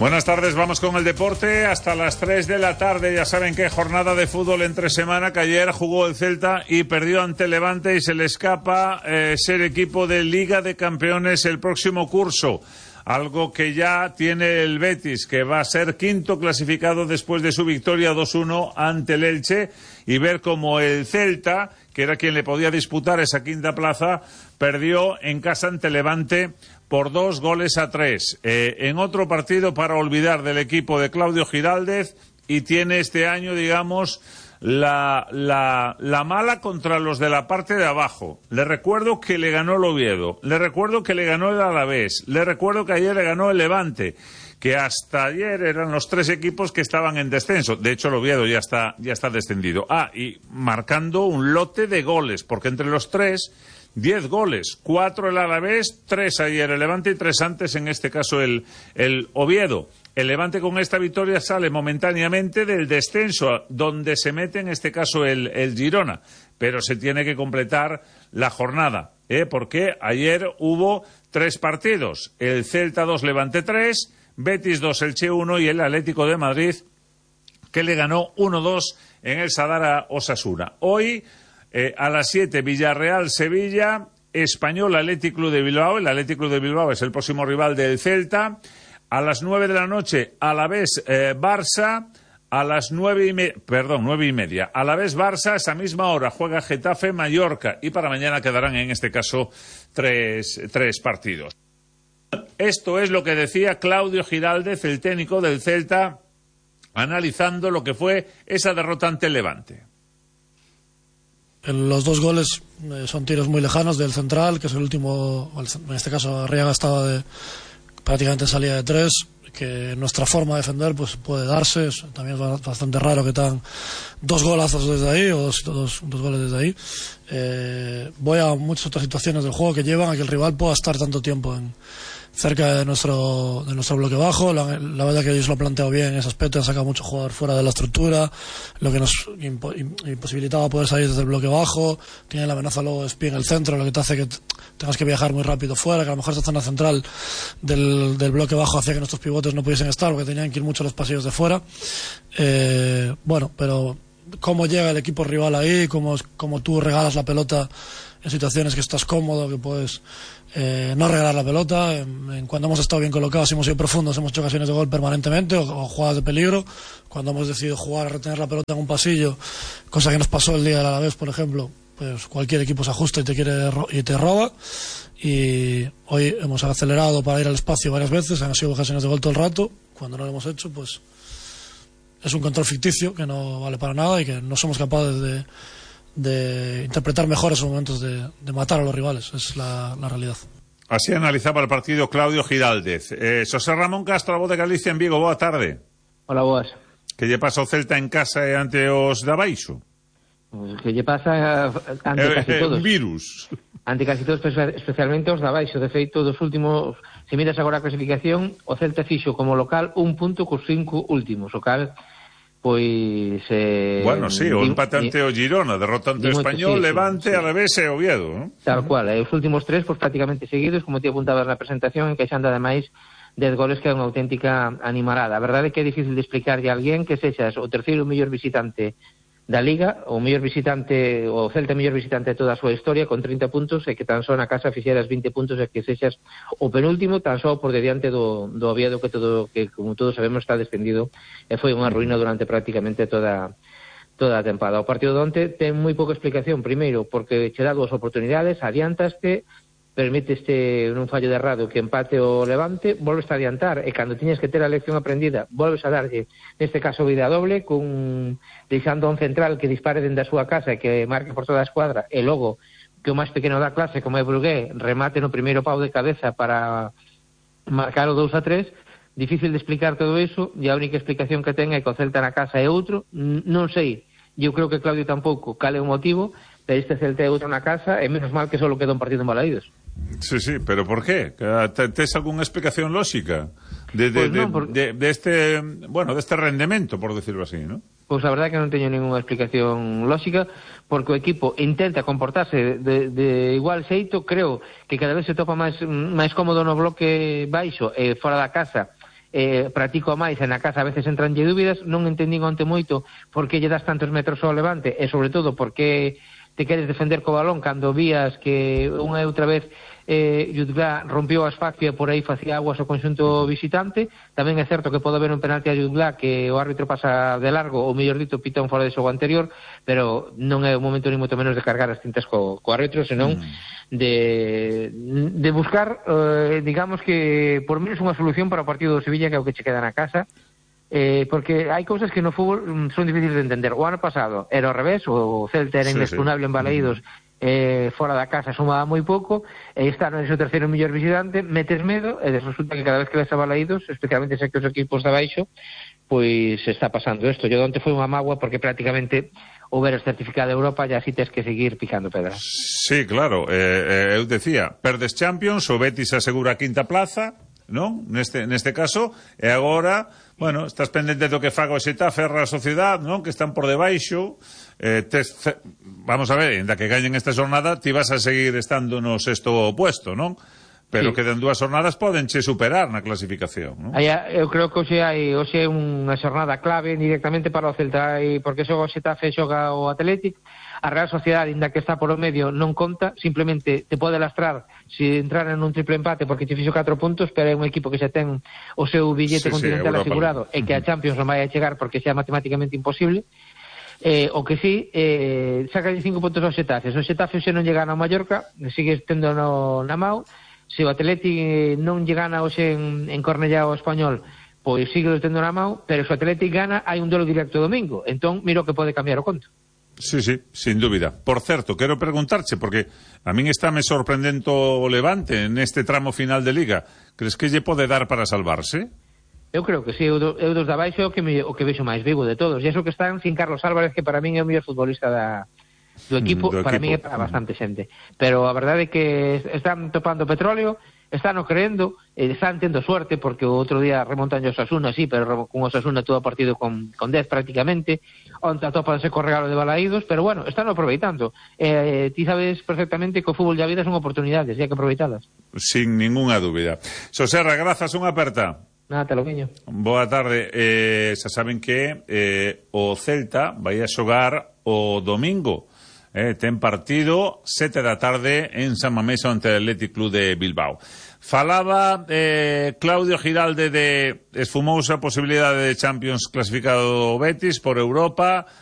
Buenas tardes, vamos con el deporte hasta las 3 de la tarde. Ya saben que jornada de fútbol entre semana, que ayer jugó el Celta y perdió ante Levante y se le escapa ser equipo de Liga de Campeones el próximo curso. Algo que ya tiene el Betis, que va a ser quinto clasificado después de su victoria 2-1 ante el Elche, y ver cómo el Celta, que era quien le podía disputar esa quinta plaza, perdió en casa ante Levante por 2-3. En otro partido para olvidar del equipo de Claudio Giraldez, y tiene este año, digamos, la mala contra los de la parte de abajo. Le recuerdo que le ganó el Oviedo, le recuerdo que le ganó el Alavés, le recuerdo que ayer le ganó el Levante, que hasta ayer eran los tres equipos que estaban en descenso. De hecho, el Oviedo ya está descendido. Y marcando un lote de goles, porque entre los tres, 10 goles, 4 el Alavés, 3 ayer el Levante y 3 antes, en este caso el Oviedo. El Levante con esta victoria sale momentáneamente del descenso, donde se mete en este caso el Girona, pero se tiene que completar la jornada, porque ayer hubo 3 partidos, el Celta 2, Levante 3, Betis 2, Elche 1 y el Atlético de Madrid, que le ganó 1-2 en el Sadar a Osasuna. Hoy, a las 7, Villarreal-Sevilla, Español Athletic Club de Bilbao. El Athletic Club de Bilbao es el próximo rival del Celta. A las 9 de la noche, Alavés Barça. A las 9:30. Alavés Barça, esa misma hora juega Getafe Mallorca. Y para mañana quedarán en este caso tres partidos. Esto es lo que decía Claudio Giraldez, el técnico del Celta, analizando lo que fue esa derrota ante el Levante. Los 2 goles son tiros muy lejanos del central, que es el último. En este caso Arriaga estaba prácticamente salida de 3, que nuestra forma de defender pues puede darse. También es bastante raro que tan 2 golazos desde ahí, o dos goles desde ahí. Voy a muchas otras situaciones del juego que llevan a que el rival pueda estar tanto tiempo cerca de nuestro bloque bajo. La verdad que ellos lo han planteado bien en ese aspecto, han sacado mucho jugador fuera de la estructura, lo que nos imposibilitaba poder salir desde el bloque bajo. Tiene la amenaza luego de Espí en el centro, lo que te hace que tengas que viajar muy rápido fuera, que a lo mejor esta zona central del bloque bajo hacía que nuestros pivotes no pudiesen estar, porque tenían que ir mucho a los pasillos de fuera. Pero cómo llega el equipo rival ahí, cómo tú regalas la pelota en situaciones que estás cómodo, que puedes no regalar la pelota. Cuando hemos estado bien colocados, hemos sido profundos, hemos hecho ocasiones de gol permanentemente, o jugadas de peligro. Cuando hemos decidido jugar a retener la pelota en un pasillo, cosa que nos pasó el día del Alavés, por ejemplo, pues cualquier equipo se ajusta y te roba. Y hoy hemos acelerado para ir al espacio varias veces, han sido ocasiones de gol todo el rato. Cuando no lo hemos hecho, pues es un control ficticio que no vale para nada y que no somos capaces de interpretar mejor esos momentos de matar a los rivales. Es la realidad. Así analizaba el partido Claudio Giraldez. José Ramón Castro, a voz de Galicia en Vigo, boa tarde. Hola, boas. Que lle pasa o Celta en casa e ante os de abaixo? Que lle pasa ante casi todos. Virus. Ante casi todos, especialmente os de abaixo. De feito, dos últimos, se miras agora a clasificación, o Celta fixo como local 1 punto cos 5 últimos, o cal pois bueno, sí, o empate ante o Girona, derrota ante o Español, Levante, sí. Alavés e Oviedo, ¿no? Tal cual, os últimos 3 pois prácticamente seguidos, como te apuntabas na presentación, encaixando ademais 10 goles, que é unha auténtica animarada. A verdade é que é difícil de explicarlle a alguén que sexas o terceiro mellor visitante da Liga, o mellor visitante, o Celta mellor visitante de toda a súa historia, con 30 puntos, e que tan só na casa fixeras 20 puntos, e que sexas o penúltimo tan só por diante do Oviedo, que como todos sabemos está descendido, e foi unha ruína durante prácticamente toda a tempada. O partido de onte ten moi pouca explicación, primeiro porque che dá 2 oportunidades, adiantaste, permiteste nun fallo de errado que empate o Levante, volves a adiantar, e cando tiñas que ter a lección aprendida, volves a darlle, neste caso, vida doble, deixando un central que dispare dende a súa casa e que marque por toda a escuadra, e logo que o máis pequeno da clase, como é Brugué, remate no primeiro pau de cabeza para marcar o 2-3. Difícil de explicar todo iso, e a única explicación que ten é que o Celta na casa é outro. Non sei, eu creo que Claudio tampouco cale o motivo, pero este Celta é outro na casa, e menos mal que só queda un partido en Balaídos. Sí, pero por qué? ¿Tes alguna explicación lógica de este rendemento, por decirlo así, ¿no? Pois a verdade é que non teño ninguna explicación lógica, porque o equipo intenta comportarse de igual xeito. Creo que cada vez se topa máis cómodo no bloque baixo e fora da casa, practico máis e na casa a veces entranlle dúbidas. Non entendín onte moito por que lle das tantos metros ao Levante e sobre todo por que te queres defender co balón cando vías que unha e outra vez Jutgla rompió a asfixia por aí facía aguas ao conxunto visitante. Tamén é certo que pode haber un penalti a Jutgla que o árbitro pasa de largo, ou mellor dito pita un fora de xogo anterior, pero non é o momento ni moito menos de cargar as tintas co árbitro, senón de buscar digamos que por menos unha solución para o partido do Sevilla, que é o que che queda na casa. Porque hai cousas que no fútbol son difíciles de entender. O ano pasado era ao revés, o Celta era inexpugnable en Balaídos, fora da casa sumaba moi pouco, e está no seu terceiro mellor visitante, metes medo e resulta que cada vez que ves a Balaídos, especialmente se que os equipos de abaixo, pois está pasando isto. Yo onte foi unha mágoa porque prácticamente houberas certificado de Europa e así tes que seguir picando pedras. Sí, claro, eu decía, perdes Champions, o Betis asegura a quinta plaza, non? Neste caso, e agora, bueno, estás pendente do que faga o Xetafe, a Real Sociedade, non? Que están por debaixo. Vamos a ver, ainda que gañen esta jornada, ti vas a seguir estando no sexto puesto, non? Pero que den dúas jornadas podenche superar na clasificación, non? Eu creo que hoxe é unha xornada clave directamente para o Celta, porque xoga o Xetafe, xoga o Athletic. A Real Sociedade, ainda que está por o medio, non conta, simplemente te pode lastrar se entrar en un triple empate porque te fixo 4 puntos, pero é un equipo que xa ten o seu billete continental asegurado e que a Champions non vai a chegar porque xa é matemáticamente imposible. O que sí, saca 5 puntos ao Xetafe. Se o Xetafe xe non lle gana ao Mallorca, sigue tendo na mão. Se o Athletic non lle gana hoxe en Cornellá ao Español, pois sigue tendo na mão, pero se o Athletic gana, hai un duelo directo domingo. Entón, miro que pode cambiar o conto. Sí, sin dúbida. Por certo, quero preguntarche, porque a min estáme sorprendendo o Levante neste tramo final de Liga. Crees que lle pode dar para salvarse? Eu creo que sí, eu dos de abaixo o que vexo máis vivo de todos. E iso que están sin Carlos Álvarez, que para min é o mellor futbolista do equipo, para min é para bastante xente. Pero a verdade é que están topando petróleo, están o creendo, están tendo suerte, porque o outro día remontan o Osasuna, sí, pero con Osasuna todo o partido con 10 prácticamente, onde atopanse co regalo de Balaídos, pero bueno, están aproveitando. Ti sabes perfectamente que o fútbol e a vida son oportunidades, e hai que aproveitalas. Sin ninguna dúbida. Soserra, grazas, unha aperta. Nada, te lo guiño. Boa tarde. Xa saben que o Celta vai a xogar o domingo. Ten partido 7 da tarde en San Mamés ante o Athletic Club de Bilbao. Falaba Claudio Giralde de esfumosa posibilidade de Champions clasificado o Betis por Europa.